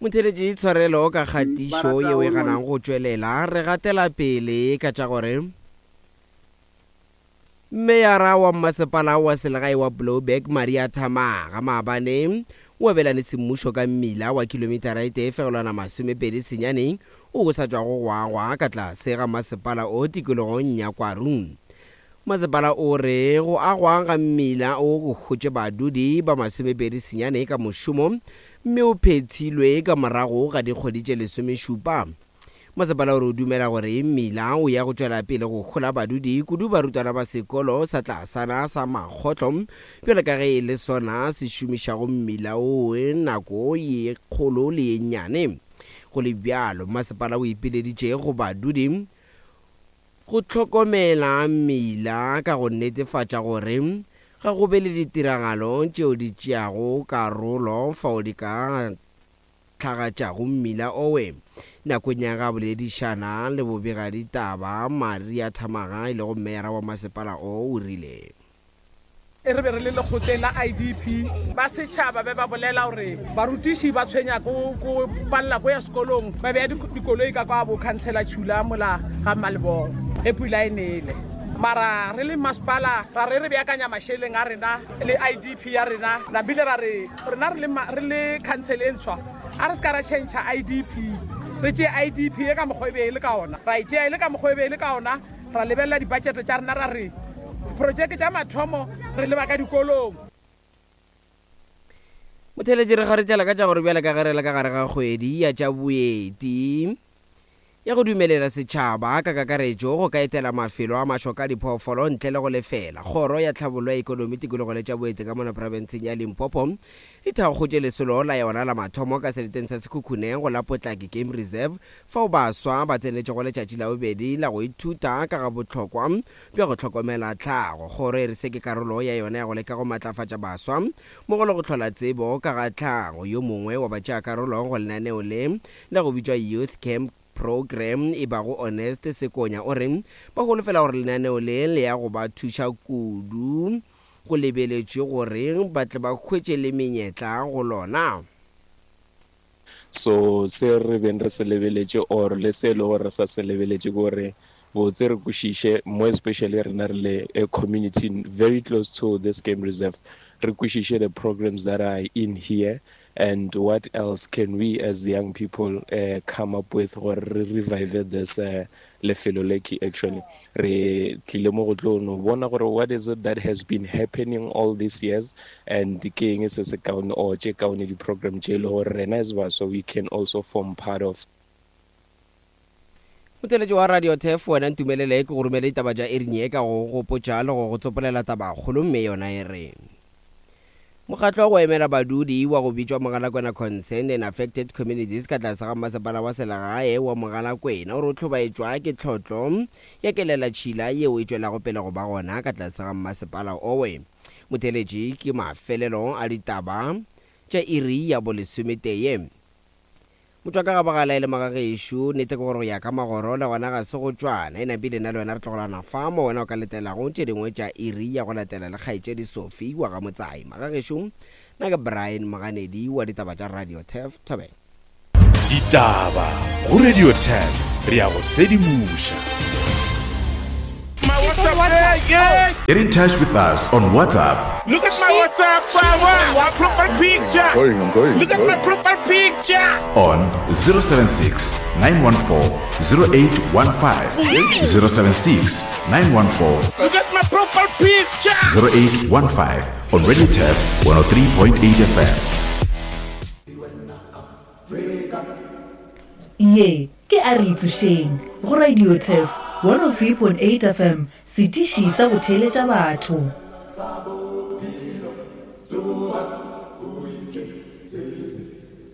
Motheeletši, tshwarelo ka kgatišo yeo e ganang go tšwelela. Re gatela pele ka tša gore Meyara wa Mmasepala wa Selegae wa Blouberg Maria Thamaga maabane o abelane semmušo ka mmila wa kilometara e tee fegelwana 29 wo o sa tšwago go agwa ka tlase ga masepala o tikologong ya Kwaru. Masepala o re go agwa ga mmila o go hotše badudi ba 29 ka mošomo mme o phethilwe ka morago ga dikgwedi tše lesomešupa. Masepala o re o dumela gore mmila o ya go tšwela pele go hola badudi, kudu barutwana ba sekolo sa tlasana sa Makgotlo, bjalo ka ge e le sona se šomišago mmila wo nako ye kgolo le ye nnyane. Go le bjalo, masepala o ipileditše go badudi Go hlokomela mmila ka go netefatša gore ga go be le ditiragalo tšeo di tšeago karolo fao di ka hlagatšago mmila owe. Nakong ya ge a boledišana le bobegaditaba, Maria Thamaga e lego meyara wa masepala o, o rile. Re be re le lekgotleng la IDP, ba setšhaba be ba bolela gore barutiši ba tshwenya ko ko palela ko ya sekolong, ba beya dikoloi ka kwa bo khansela Chula mola ga Mmalebogo ge pula e nele. Mara re le masepala ra re re beakanya mašeleng a rena le IDP ya rena, nabile ra re rena re le re le khansele e ntshwa a re se ka ra tšhentšha IDP, re tšee IDP e ka mokgwa e be e le ka ona, ra e tšea e le ka mokgwa e be e le ka ona. Ra lebelela dibajete tša rena ra re diprojeke tša mathomo re leba ka dikolong. Motheeletši re kgaretšela ka tša gore bjale ka ge re le ka gare ga kgwedi ya tša boeti ya go dumelela setšhaba ka kakaretšo go ka etela mafelo a mašoka a diphoofolo ntle le go lefela, Kgoro ya Tlhabollo ya Ekonomi, Tikologo le tša Boeti ka mona profenseng ya Limpopo e thakgotše lesolo la yona la mathomo ka seleteng sa Sekhukhune go la Potlake Game Reserve fao baswa ba tsenetšego letšatši la bobedi la go ithuta ka ga bohlokwa bja go hlokomela tlhago. Kgoro e re se ke karolo ya yona ya go leka go matlafatša baswa mmogo le go hlola tsebo ka ga tlhago. Yo mongwe wa batšeakarolo go lenaneo le la go bitšwa Youth Camp Programme e bago Honest Sekonya o re ba holofela gore lenaneo le le ya go ba thuša kudu go lebeletšwe gore ba tle ba hwetše le menyetla go lona. So se re beng re se lebeletše or le se e le gore re sa se lebeletše ke gore botse re kwešiše, more especially rena re le a community very close to this game reserve, re kwešiše the programs that are in here and what else can we as young people uh, come up with gore re revive this uh, lefelo le ke actually re tlile mo go tlo no bona gore what is it that has been happening all these years and ke eng se se kaone or tše kaone di-program tše e le gore rena as baswa we can also form part of. Motheeletši wa Radio Turf, wena ntumelele ke go romele ditaba tša iring ye ka go go gopotša le go go tsopolela tabakgolo mme yona e re. Mokgatlo wa go emela badudi wa go bitšwa Mogalakwena Concerned and Affected Communities ka tlase ga Mmasepala wa Selegae wa Mogalakwena o re o hlobaetšwa ke tlhotlo ya kelelatšhila yeo e tšwelago pele go ba gona ka tlase ga mmasepala owe. Motheeletši ke mafelelo a ditaba tša iri ya bolesometee. Motho a ka gabagala e le magagešo. Nnete ke gore go ya ka magoro le gona ga se go tšwana. E napile nna le wena re tlogelana fa mo wena o ka letelago tše dingwe tša iri ya go latela le kgaetšedi Sophie wa ga Motsai. Magagešo, nna ke Brian Moganedi wa ditaba tša Radio Turf Thobela. Ditaba go Radio Turf re a go sedimoša. My WhatsApp, hey, hey. Get in touch with us on WhatsApp. Look at my WhatsApp, my profile picture. I'm going, I'm going. Look at my profile picture. On 076 914 0815. 076 914. Look at my profile picture. 0815 on Radio Tab 103.8 FM. Ye ke a re itsošeng go Radio Turf 103.8 FM, setiši sa go theeletša batho.